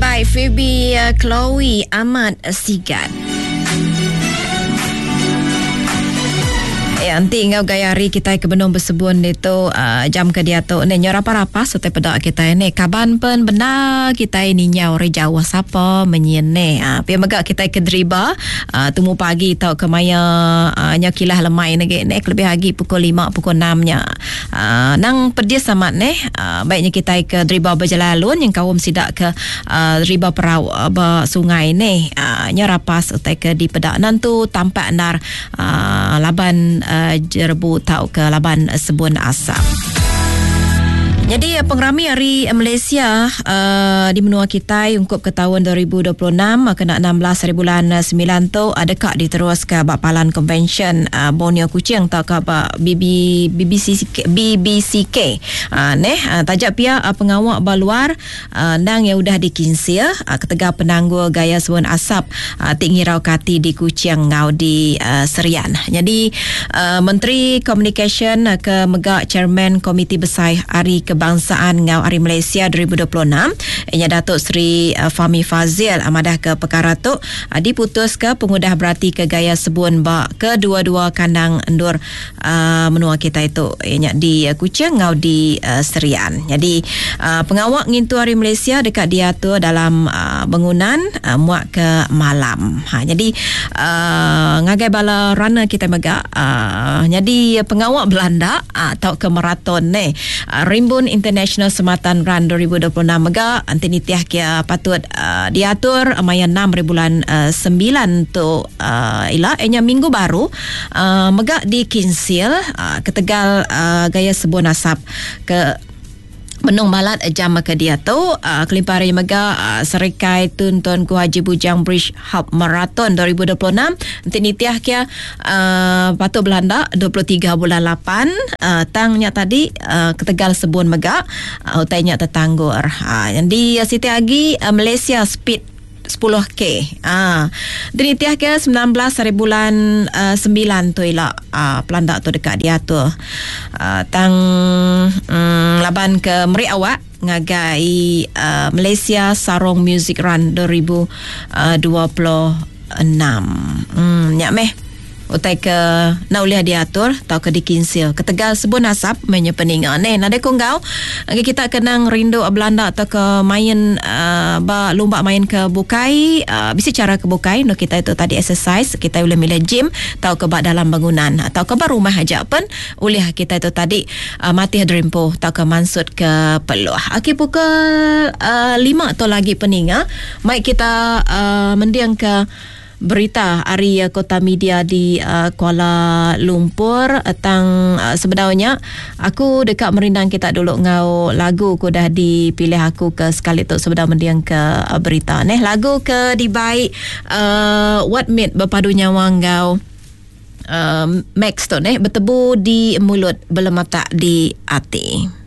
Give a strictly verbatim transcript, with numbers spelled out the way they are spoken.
Dibai Phoebe Chloe Ahmad Sigat. Ya, nanti ngau gaya hari kita ke benung bersebun itu uh, jam ke dia tu ni nyorapa rapa serta pedak kita ni kaban pen benar kita ni nyau re jauh sapa menyin ni ah uh, pia mega kita ke deriba uh, tumu pagi tau ke maya uh, nya kilah lemai ni ni lebih lagi pukul lima pukul enam nya uh, nang pedis amat ni uh, baiknya kita ke deriba berjalan alun yang kaum sidak ke uh, deriba perau uh, ba sungai ni uh, nya rapas utai ke di pedak nantu tampak nar uh, laban uh, jerebu tau ke laban sebun asap. Jadi pengerami hari Malaysia uh, di menua kita ungkup ke tahun dua ribu dua puluh enam kena enam belas hari bulan sembilan tu ada kak diterus ke bak Palan Convention uh, Borneo Kuching atau ke bak B B, B B C K, B B C K. Uh, neh uh, tajak pia uh, pengawak baluar uh, nang yang udah dikinsia uh, ketegal penanggul gaya sebun asap uh, tik ngirau kati di Kuching ngau di uh, Serian. Jadi uh, Menteri Communication uh, ke mega Chairman Komiti Besar Hari Kebangsaan ngau Hari Malaysia dua ribu dua puluh enam ianya Datuk Seri uh, Fahmi Fazil amadah ke perkara tu uh, diputus ke pengudah berarti ke gaya sebun ba kedua-dua kandang endur uh, menua kita itu ianya di uh, Kuching ngau di uh, Serian. Jadi uh, pengawak ngintu Hari Malaysia dekat diatur dalam uh, bangunan uh, muak ke malam. Ha, jadi uh, ngagai bala runner kita mega uh, jadi pengawak Belanda uh, atau ke maraton ni uh, Rimbun International Sematan Run dua ribu dua puluh enam mega anti nitiah kia patut uh, diatur maya enam hari bulan uh, sembilan tu uh, ila enya minggu baru uh, mega di Kinsil uh, ketegal uh, gaya sebun asap ke Menung malat jam ke dia tu uh, kelimpah hari mega uh, Serikai Tuntun Ku Haji Bujang Bridge Hub Marathon dua ribu dua puluh enam nanti nitiah kia uh, patut Belanda dua puluh tiga bulan lapan uh, tangnya tadi uh, ketegal sebun mega uh, utainya tertanggur. Uh, yang di uh, Siti Agi uh, Malaysia Speed sepuluh K. Ah, dinitiah ke sembilan belas hari bulan uh, sembilan tu ila uh, pelandak tu dekat diatur. Uh, tang um, laban ke meri awak ngagai uh, Malaysia Sarong Music Run dua ribu dua puluh enam. Hmm, nyak meh. Utai ke nak boleh diatur atau ke dikinsil. Ketegal sebun asap menye peninga. Neh, nade konggau. Kita kenang rindu Belanda atau ke main uh, ba lumba main ke bukai, uh, bisa cara ke bukai no kita itu tadi exercise, kita boleh milih gym atau ke bak dalam bangunan atau ke bak rumah aja pun boleh kita itu tadi uh, mati dreampo atau ke mansut ke peluh. Okey, pukul uh, lima atau lagi peninga. Mai kita uh, mendiang ke berita hari Kota Media di uh, Kuala Lumpur tentang uh, sebenarnya aku dekat merindang kita dulu ngau lagu ku dah dipilih aku ke sekali tu sebenar mendiang ke uh, berita neh lagu ke dibaik uh, What Made berpadu nyawa ngau uh, Max tu neh bertebu di mulut belematak di hati.